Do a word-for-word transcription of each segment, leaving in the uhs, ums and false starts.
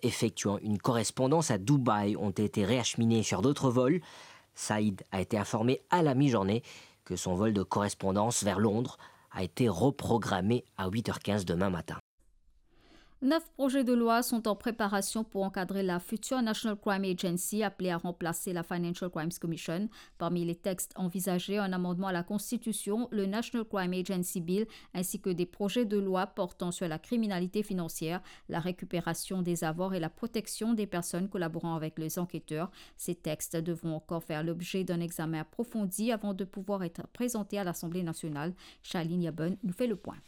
effectuant une correspondance à Dubaï ont été réacheminés sur d'autres vols. Saïd a été informé à la mi-journée que son vol de correspondance vers Londres a été reprogrammé à huit heures quinze demain matin. Neuf projets de loi sont en préparation pour encadrer la future National Crime Agency, appelée à remplacer la Financial Crimes Commission. Parmi les textes envisagés, un amendement à la Constitution, le National Crime Agency Bill, ainsi que des projets de loi portant sur la criminalité financière, la récupération des avoirs et la protection des personnes collaborant avec les enquêteurs. Ces textes devront encore faire l'objet d'un examen approfondi avant de pouvoir être présentés à l'Assemblée nationale. Charline Yabon nous fait le point.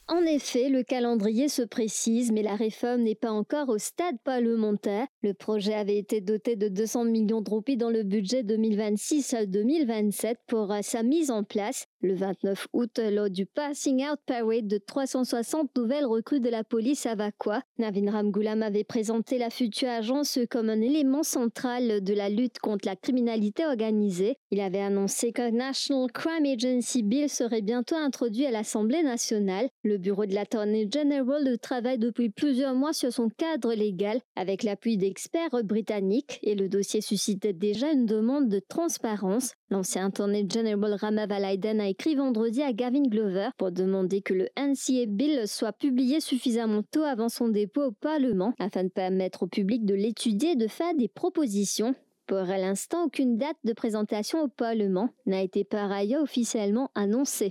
En effet, le calendrier se précise, mais la réforme n'est pas encore au stade parlementaire. Le projet avait été doté de deux cents millions de roupies dans le budget deux mille vingt-six à deux mille vingt-sept pour, euh, sa mise en place. Le vingt-neuf août, lors du Passing Out Parade de trois cent soixante nouvelles recrues de la police à Vacoas, Navin Ramgoolam avait présenté la future agence comme un élément central de la lutte contre la criminalité organisée. Il avait annoncé qu'un National Crime Agency Bill serait bientôt introduit à l'Assemblée nationale. Le bureau de l'Attorney General travaille depuis plusieurs mois sur son cadre légal avec l'appui d'experts britanniques et le dossier suscitait déjà une demande de transparence. L'ancien Attorney General Rama Vallaiden a écrit vendredi à Gavin Glover pour demander que le N C A Bill soit publié suffisamment tôt avant son dépôt au Parlement afin de permettre au public de l'étudier et de faire des propositions. Pour l'instant, aucune date de présentation au Parlement n'a été par ailleurs officiellement annoncée.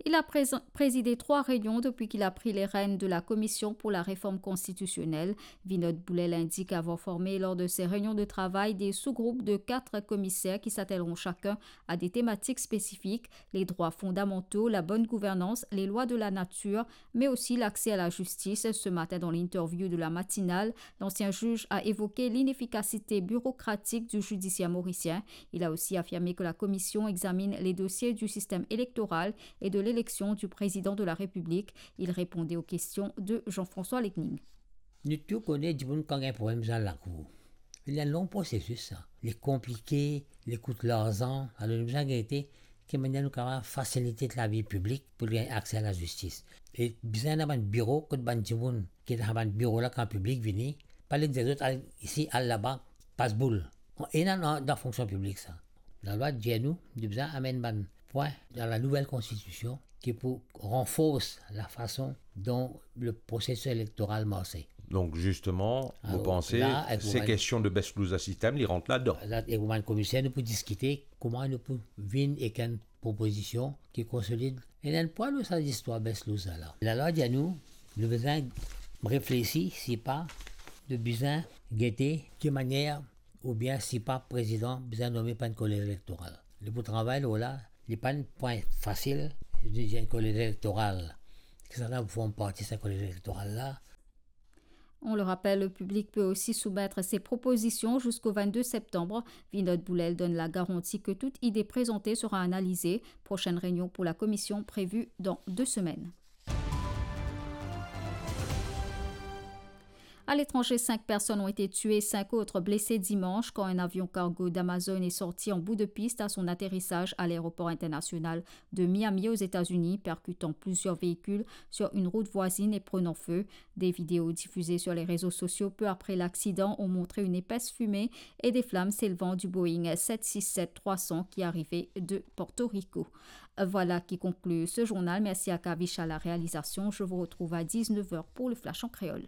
Il a présent-, présidé trois réunions depuis qu'il a pris les rênes de la Commission pour la réforme constitutionnelle. Vinod Boulel indique avoir formé lors de ces réunions de travail des sous-groupes de quatre commissaires qui s'attelleront chacun à des thématiques spécifiques, les droits fondamentaux, la bonne gouvernance, les lois de la nature, mais aussi l'accès à la justice. Ce matin, dans l'interview de la matinale, l'ancien juge a évoqué l'inefficacité bureaucratique du judiciaire mauricien. Il a aussi affirmé que la commission examine les dossiers du système électoral et de l'élection du président de la République. Il répondait aux questions de Jean-François Lecning. Nou tou kone dimoun kan gagn problem dan lakour. Li enn long prosesis sa. Li konplike, li kout larzan. Alor nou bizin gete ki manier nou kapav fasilite lavi piblik pou li gagn akse a lazistis. E bizin ena bann biro kot bann dimoun ki dan bann biro la kan piblik vini, pa dir zot al isi, al laba, pas boul. Ena dan, dan fonksion piblik sa. Lalwa dir nou, nou bizin amenn bann pwin dan la nouvel konstitision ki pou ranfors la fason dont le prosesis elektoral marse. Donc justement, vous pensez, ces questions de best loser system, li rant ladan. Alor, la, ek bann komiser, nou pou diskite kouma nou pou vinn ek enn propozision ki konsolid. Ena enn pwa lor sa zistwar best loser la. Lalwa dir nou, nou bizin reflesi, si pa, nou bizin gete ki manier oubien si pa prezidan bizin nome par enn kolez elektoral. Li pou travay lor la, li pa enn pwin fasil, li dir enn kolez elektoral. Kisannla pou form parti sa kolez elektoral la? On le rappelle, le public peut aussi soumettre ses propositions jusqu'au vingt-deux septembre. Vinod Boulel donne la garantie que toute idée présentée sera analysée. Prochaine réunion pour la commission prévue dans deux semaines. À l'étranger, cinq personnes ont été tuées, cinq autres blessées dimanche quand un avion cargo d'Amazon est sorti en bout de piste à son atterrissage à l'aéroport international de Miami aux États-Unis, percutant plusieurs véhicules sur une route voisine et prenant feu. Des vidéos diffusées sur les réseaux sociaux peu après l'accident ont montré une épaisse fumée et des flammes s'élevant du Boeing sept six sept trois cents qui arrivait de Porto Rico. Voilà qui conclut ce journal. Merci à Kavish à la réalisation. Je vous retrouve à dix-neuf heures pour le Flash en créole.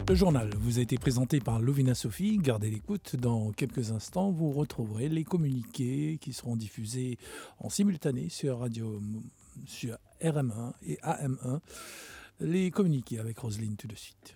Le journal vous a été présenté par Louvina Sophie. Gardez l'écoute. Dans quelques instants, vous retrouverez les communiqués qui seront diffusés en simultané sur Radio, sur R M un et A M un. Les communiqués avec Roselyne tout de suite.